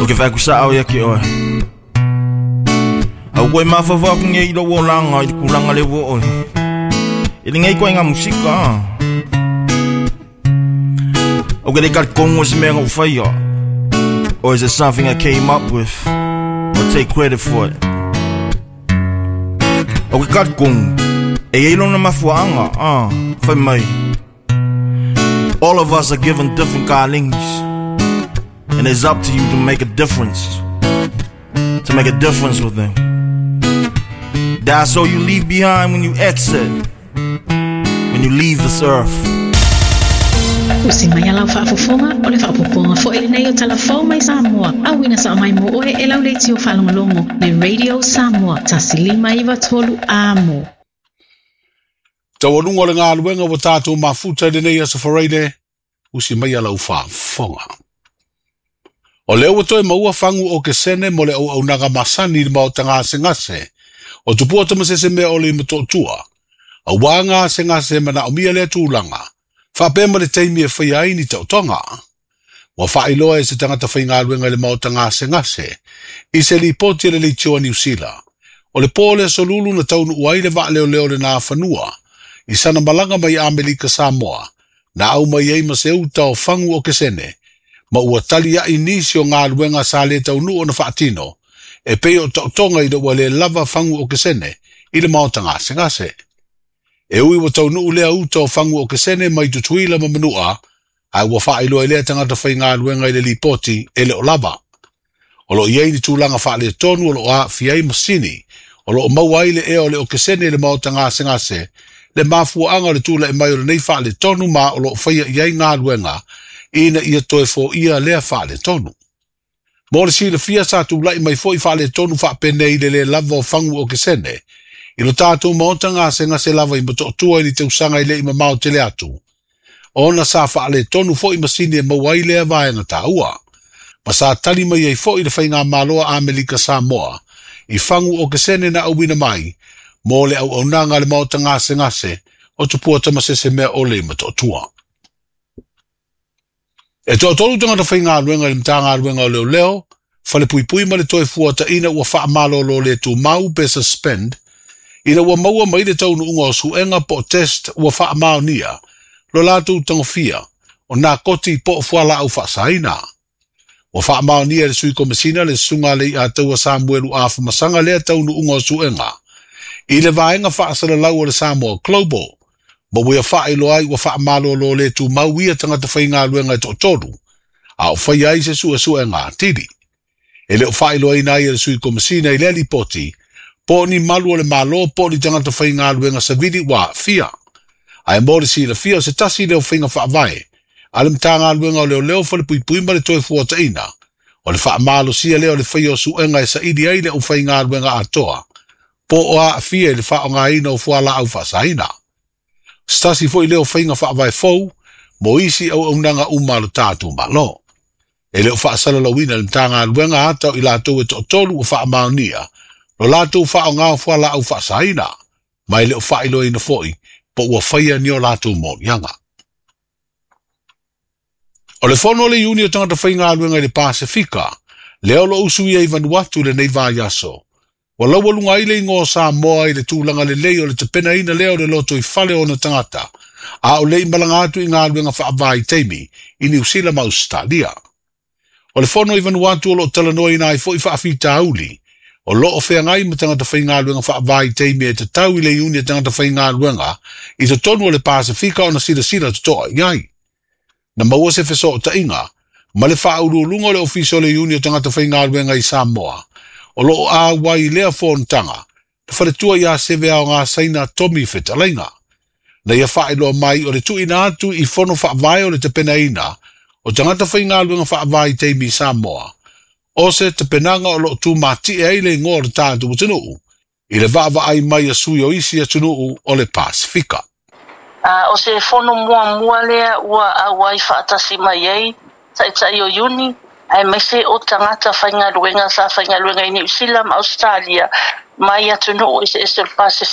Ou te fai atu sa'o ia te oe. A ua toe mafaufau atu nei i lou olaga i le tulaga lea ua oo ai i lenei ituaiga musika. Ou te le talitonu o se mea na ou faia, or is it something I came up with, or take credit for it. Ou te talitonu, e i ai lona mafuaaga, ah, fai mai. All of us are given different callings, and it's up to you to make a difference. To make a difference with them. That's all you leave behind when you exit, when you leave this earth. Usi mai a lau faafofoga, o le faaopoopoga foi lenei o Tala Fou mai Samoa, auina sao mai mo oe e lau leitio faalogologo le Radio Samoa 1593 Amo. Taualuga o le galuega ua tatou mafuta i lenei aso Faraile, usi mai a lau faafofoga. O lea ua toe maua fagu okesene mo le auaunaga masani i le maota gasegase o Tupua Tamasese Mea Ole i Motootua, auā gasegase e manaomia lea tulaga, faapea ma le taimi e faia ai ni taotoga. Ua faailoa e se tagata faigaluega i le maota gasegase i se lipoti a le Leitio a Niu Sila, o le po o le Aso Lulu na taunuu ai le vaaleoleo le Nafanua i sana malaga mai Amerika Samoa, na au mai ai ma se uta o fagu okesene, ma ua taliai nisi o galuega sa le taunuu ona faatino, e pei o taotoga ina ua le lava fagu okesene i le maota gasegase. E ui ua taunuu lea uta o fagu okesene mai Tutuila ma Manua, ae ua faailoa e lea tagata faigaluega i le lipoti e le o lava. O lo o i ai ni tulaga faaletonu o lo o aafia ai masini, o lo o maua ai le ea o le okesene i le maota gasegase, le mafuaaga o le tulai mai o lenei faaletonu ma o lo o faia i ai galuega ina ia toe foia lea faaletonu. Mo le silafia sa tulai mai foi faaletonu faapenei i le lē lava o fagu okesene i lo tatou maota gasegase lava i Motootua i le tausaga e le i mamao tele atu, ona sa faaletonu foi masini e maua ai lea vaega taua. Ma sa tali mai ai foi le Faigamalo a Amerika Samoa i fagu okesene na auina mai mo le auaunaga a le maota gasegase o Tupua Tamasese Mea Ole i Motootua. E toatolu tagata faigaluega i le Matagaluega o Leoleo, Falepuipui ma le Toefuataiga ua faamalolo le tumau pe suspend, ina ua maua mai le taunuuga o suega po o test ua faamaonia lo latou tagofia o nakoti po o fualaau faasaina. Ua faamaonia e le Sui Komesina le Susuga a Leiataua Samuelu Afamasaga lea taunuuga o suega i le vaega faasalalau o le Samoa Global, ma ua ia faailoa ai ua faamalolo le tumau ia tagata faigaluega e toatolu, a o faia ai se suesuega atili. E le o faailoaina ai e le Sui Komesina i lea lipoti po o ni malu o le Malo po o ni tagata faigaluega savili ua aafia. Ae mo le silafia o se tasi lea o faiga faavae a le Matagaluega o Leoleo, Falepuipui ma le Toefuataiga, o le faamalosia lea o le faia o suega e saili ai le aufaigaluega atoa po o aafia i le faaaogaina o fualaau faasaina. O se tasi foi lea o faiga faavae fou mo isi auaunaga uma a lo tatou Malo. E le o faasalalauina e le Matagaluega ata o i latou e toatolu ua faamaonia lo latou faaaoga o fualaau faasaina, ma e le o faailoaina foi po ua faia ni o latou moliaga. O le fono a le Iuni o Tagata Faigaluega i le Pasefika, lea o lo o usuia i Vanuatu i lenei vaiaso, ua laualuga ai le igoa o Samoa i le tulaga lelei o le tapenaina lea o le lotoifale o ona tagata, a o le i malaga atu i galuega faavaitaimi i Niu Sila ma Ausetalia. O le fono i Vanuatu o lo o talanoaina ai foi faafitauli o lo o feagai ma tagata faigaluega faavaitaimi e tatau i le Iuni a Tagata Faigaluega i totonu o le Pasefika ona silasila totoa i ai. Na maua se fesootaiga ma le faauluuluga o le Ofisa o le Iuni o Tagata Faigaluega i Samoa o lo o auai i lea fonotaga, le faletua ia Seveaogasaina Tommy Fetalaiga. Na ia faailoa mai o le tuuina atu i fono faavae o le tapenaina o tagata faigaluega faavaitaimi i Samoa, o se tapenaga o lo o tumatie ai le igoa o le tatou atunuu i le vaavaai mai a sui o isi atunuu o le Pasefika. O se fono muamua lea ua auai faatasi mai ai Taitai o Iuni, aemaise o tagata faigaluega sa faigaluega i Niu Sila ma Ausetalia mai atunuu eseese o le Pasefika.